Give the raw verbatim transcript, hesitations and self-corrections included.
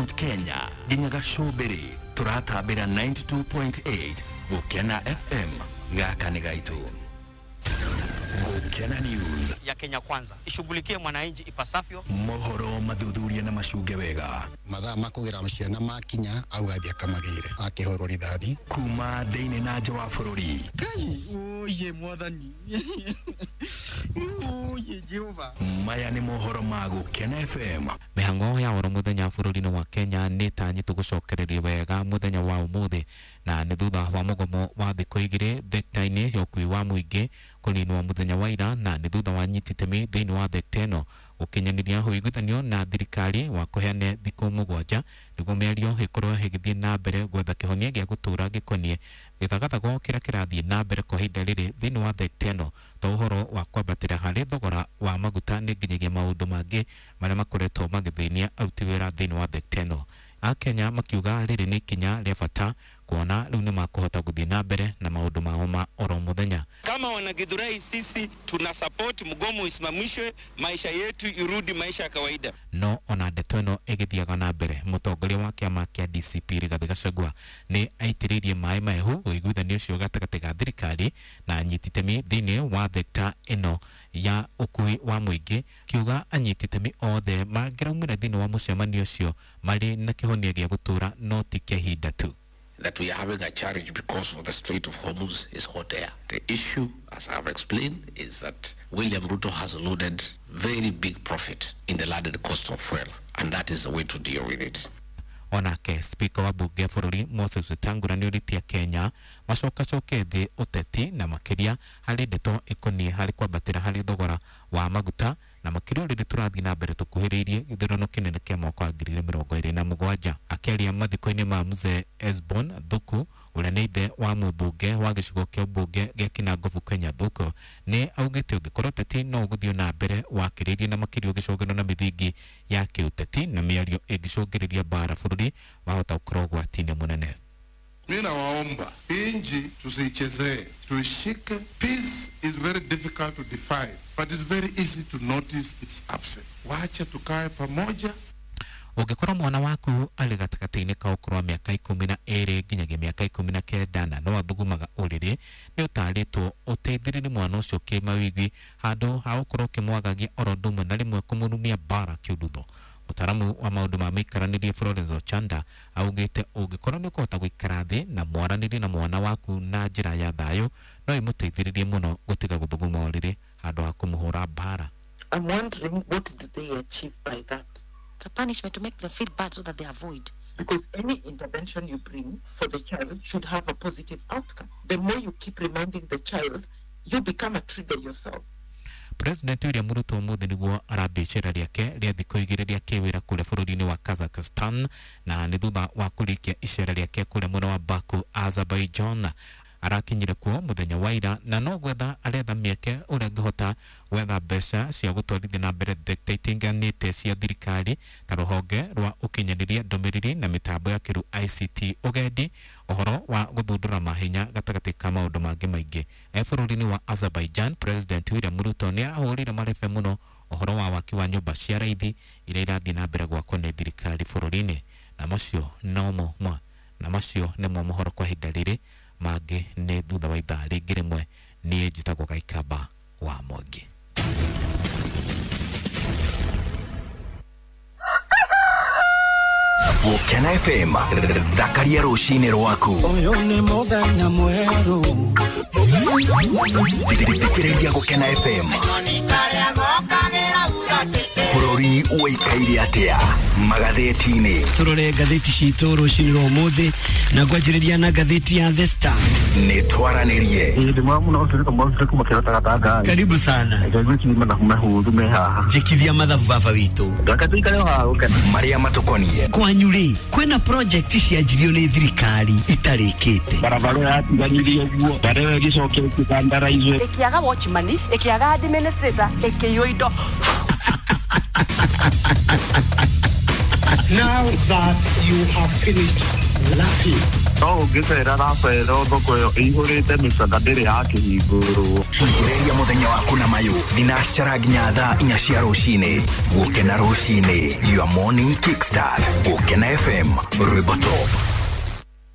Mount Kenya nginya Gacũmbĩrĩ tũratambĩra ninety-two point eight Gũkena F M gaka nĩ gaitũ. Gũkena News ya Kenya Kwanza ishughulikie mwananchi ipasavyo. Mohoro mathuthuria na macunge wega. Mathaa makũgĩra ciana makinya augathia kamagĩre akĩhũrwo rithathi kuma thĩinĩ na nja wa bũrũri. Ngai oye mwathani oye Jehova. Maya nĩ mohoro ma Gũkena F M. Mĩhang'o ya oro mũthenya bũrũri-inĩ wa Kenya nĩ ĩtanyĩtwo gũcokererio wega mũthenya wa ũmũthĩ na nĩ thutha wa mũgomo wa thikũ igĩrĩ thekta-inĩ ya ũkui wa mũingĩ kũninwo mũthenya wa ira na nĩ thutha wa nyiti itemi thĩinĩ wa thekta ĩno gũkinyanĩria ũiguithanio na thirikari wa kũheana thikũ mũgwanja nĩguo mĩario ĩkorwo ĩgĩthiĩ na mbere gwetha kĩhonia gĩa gũtũũra gĩkoniĩ gĩthagathago kĩrĩa kĩrathiĩ na mbere kwa ihinda rĩrĩ thĩinĩ wa thekta ĩno to ũhoro wa kwambatĩra harĩ thogora wa maguta nĩ nginyagia maũndũ mangĩ marĩa makoretwo magĩthĩnia aruti wĩra thĩinĩ wa thekta ĩno. Akenya makiuga rĩrĩ nĩ ikinya rĩa bata kuona rĩu nĩ makũhota gũthiĩ na mbere na maũndũ mao ma oro mũthenya. Kama wanagithurai sisi tuna support mgomo usimamishwe, maisha yetu irudi maisha ya kawaida. No ona ndeto ĩno ĩgĩthiaga na mbere, mũtongoria wa kĩama kĩa D C P Rigathĩ Gachagua nĩ aitĩrĩirie maĩ mahehu ũiguithanio ũcio gatagatĩ ga thirikari na anyiti itemi thĩinĩ wa thekta ĩno ya ũkui wa mũingĩ, kiuga anyiti itemi othe mangĩraumĩra thĩinĩ wa mũcemanio ũcio marĩ na kĩhonia gĩa gũtũũra no ti kĩa ihinda tu. That we are having a challenge because of the Strait of Hormuz is hot air. The issue, as I have explained, is that William Ruto has loaded very big profit in the landed cost of fuel, and that is the way to deal with it. Onake Speaker wa bunge ya bũrũri Moses Wetangula nĩorĩtie Kenya macokacoke thĩ ũteti na makĩria harĩ ndeto ĩkoniĩ harĩ kwambatĩra harĩ thogora wa maguta na makĩria rĩrĩ tũrathiĩ na mbere tũkuhĩrĩirie gĩthurano kĩnene kĩa mwaka wa ngiri igĩrĩ mĩrongo ĩrĩ na mũgwanja. Akĩaria mathiko-inĩ ma Mzee Esbon Thuku ũrĩa nĩ ithe wa mũmbunge wa gĩcigo kĩa ũmbunge gĩa Kinangofu Kenya Thuku nĩ augĩte ũngĩkorwo ũteti no ũgũthiĩ na mbere wakĩrĩirie na makĩria ũgĩcũngĩrwo na mĩthingi ya kĩũteti na mĩario ĩngĩcũngĩrĩria mbara bũrũri wahota gũkorwo ũgwati-inĩ mũnene. Mimi nawaomba inji tusiichezee, tuishike. Peace is very difficult to define, but it's very easy to notice its absence. Wacha tukae pamoja. Ũngĩkorwo mwana waku arĩ gatagatĩ-inĩ ka ũkũrũ wa mĩaka ikũmi na ĩrĩ nginyagia mĩaka ikũmi na kenda na no athugumaga ũrĩrĩ, nĩ ũtarĩtwo ũteithĩrĩrie mwana ũcio kĩmawigi handũ ha gũkorwo ũkĩmwagagia oro ũndũ ũmwe na rĩmwe kũmũrumia mbara kĩũndutho. Mũtaaramu wa maũndũ ma mĩikaranĩrie Florence Ochanda augĩte ũngĩkorwo nĩ ũkũhota gũikara thĩ na mwaranĩrie na mwana waku na njĩra ya thayũ no ĩmũteithĩrĩrie mũno gũtiga gũthuguma ũrĩrĩ handũ ha kũmũhũra mbara. I'm wondering what do they achieve by that? It's a punishment to make them feel bad so that they avoid. Because any intervention you bring for the child should have a positive outcome. The more you keep reminding the child, you become a trigger yourself. President William Ruto ũmũthĩ nĩguo arambia icera rĩake rĩa thikũ igĩrĩ rĩa kĩwĩra kũrĩa bũrũri-inĩ wa Kazakhstan na nĩ thutha wa kũrĩkia icera rĩake kũrĩa mwena wa Baku, Azerbaijan. Arakinyire kuo mũthenya wa ira na no gwetha aretha mĩeke ũrĩa angĩhota gwetha mbeca cia gũtwarithia na mbere thekta itiganĩte cia thirikari ta rũhonge rwa ũkinyanĩria ndũmĩrĩri na mĩtambo ya kĩrĩu I C T, ũgendi, ũhoro wa gũthundũra mahinya gatagatĩ ka maũndũ mangĩ maingĩ. E bũrũri-inĩ wa Azerbaijan, President William Ruto nĩ arahũrire marebe mũno ũhoro wa waki wa nyũmba cia raithi iria irathiĩ na mbere gwakwo nĩ thirikari bũrũri-inĩ. Na macio nomo mwa na macio nĩmo mohoro kwa ihinda rĩrĩ mangĩ nĩ thutha wa ithaa rĩngĩ rĩmwe. Niĩ njĩtagwo Gaikamba wa Mwangi. Gũkena F M, thakaria rũcinĩ rwaku. Ũyũ nĩ mũthenya mwerũ. Thikĩrĩria Gũkena F M. Bũrũri ũikaire atĩa magathĩti-inĩ? Tũrore ngathĩti citũ rũcinĩ rwa ũmũthĩ na ngwanjĩrĩria na ngathĩti ya The Star. Nĩ twaranĩrie. Karibu sana. Njĩkithia mathabu baba witũ. Marĩa matũkoniĩ. Kwanyu rĩ, kwĩna project cianjirio nĩ thirikari itarĩkĩte. Barabara yatiganirie ũguo, barabara ĩgĩcokia ĩkĩtandaraizwo. Ĩkĩaga watchman, ĩkĩaga administrator, ĩkĩiywo indo. Now that you have finished laughing, No ũngĩcera Rafaelo thoko ĩyo ĩihũrĩte mĩcaka ndĩrĩ yakĩhingũrwo. Ambĩrĩria mũthenya waku na mayũ thinacara nginya thaa inya cia rũcinĩ. Gũkena rũcinĩ, your morning kickstart. Gũkena F M, rwĩmbo top.